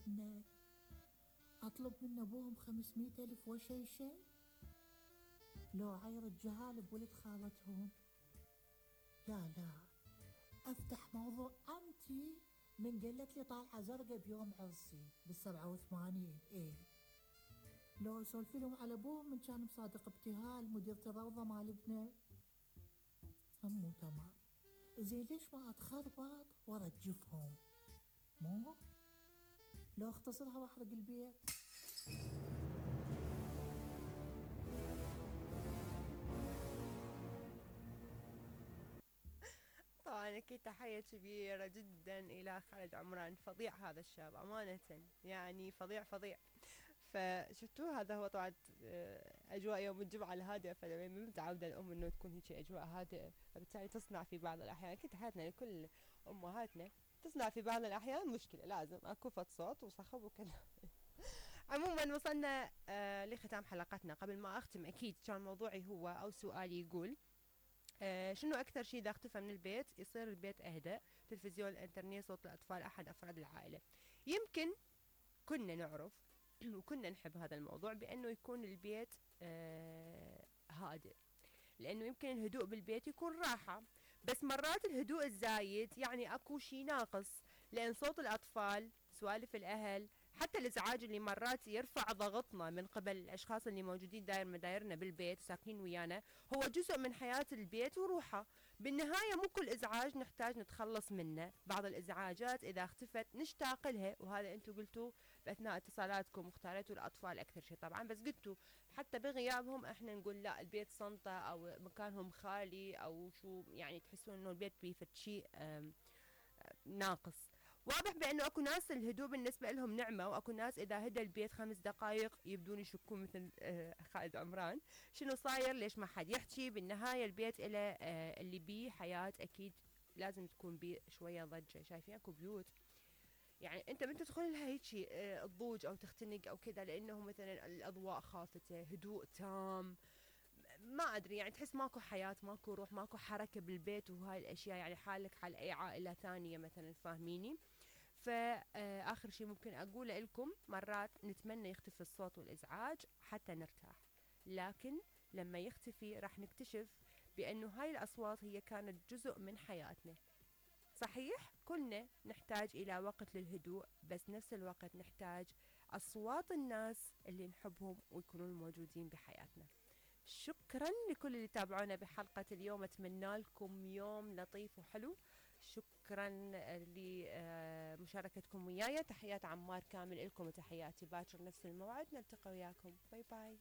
والدنا، أطلب من أبوهم 500 ألف وشي لو عير الجهال بولد خالتهم. يا لا أفتح موضوع أنتي من قالت لي طالعة زرقاء بيوم عرسي بال87. لو سولفي لهم على أبوهم من كان مصادق ابتهال مديرة الروضة مال ابنه همو تمام. زين ليش ما أتخربط وأرجفهم؟ مو لو اختصرها وأحرق البيت. طبعا أكيد تحية كبيرة جدا إلى خالد عمران، فظيع هذا الشاب أمانة، يعني فظيع. فشفتوه هذا هو طبعا أجواء يوم الجمعة الهادئة، فلما متعودة الأم إنه تكون هيك أجواء هادئة، فبالتالي تصنع في بعض الأحيان، أكيد تحياتنا لكل أمهاتنا، تصنع في بعض الأحيان مشكلة، لازم أكو فد صوت وصخب وكذا. عموما وصلنا لختام حلقتنا. قبل ما أختم أكيد كان موضوعي هو أو سؤالي يقول شنو أكثر شيء إذا اختفى من البيت يصير البيت أهدأ؟ تلفزيون، الإنترنت، صوت الأطفال، أحد أفراد العائلة. يمكن كنا نعرف وكنا نحب هذا الموضوع بأنه يكون البيت هادئ، لأنه يمكن الهدوء بالبيت يكون راحة، بس مرات الهدوء الزايد يعني أكو شي ناقص، لأن صوت الأطفال، سوالف الأهل، حتى الإزعاج اللي مرات يرفع ضغطنا من قبل الأشخاص اللي موجودين داير مدايرنا بالبيت وساكنين ويانا، هو جزء من حياة البيت وروحه. بالنهاية مو كل إزعاج نحتاج نتخلص منه، بعض الإزعاجات إذا اختفت نشتاق لها، وهذا أنتوا قلتوا بأثناء اتصالاتكم، واختاريتوا الأطفال أكثر شيء طبعا، بس قلتوا حتى بغيابهم احنا نقول لا البيت صنطة أو مكانهم خالي أو شو، يعني تحسون إنه البيت بيفت شيء ناقص. واضح بأنه أكو ناس الهدوء بالنسبة لهم نعمة، وأكو ناس إذا هدى البيت 5 دقائق يبدون يشكون مثل خالد عمران، شنو صاير، ليش ما حد يحكي. بالنهاية البيت إلى اللي بيه حياة، أكيد لازم تكون بيه شوية ضجة. شايفين أكو بيوت يعني انت من تدخل لها هيك تضوج او تختنق او كذا، لانه مثلا الاضواء خافتة، هدوء تام، ما ادري يعني تحس ماكو حياة، ماكو روح، ماكو حركة بالبيت، وهاي الاشياء يعني حالك حال اي عائلة ثانية مثلا، فاهميني. فآخر شيء ممكن أقوله لكم، مرات نتمنى يختفي الصوت والإزعاج حتى نرتاح، لكن لما يختفي راح نكتشف بأنه هاي الأصوات هي كانت جزء من حياتنا. صحيح كلنا نحتاج إلى وقت للهدوء، بس نفس الوقت نحتاج أصوات الناس اللي نحبهم ويكونون موجودين بحياتنا. شكرا لكل اللي تابعونا بحلقة اليوم، أتمنى لكم يوم لطيف وحلو. شكرا لمشاركتكم وياي. تحيات عمار كامل لكم وتحياتي، باكر نفس الموعد نلتقي وياكم. باي باي.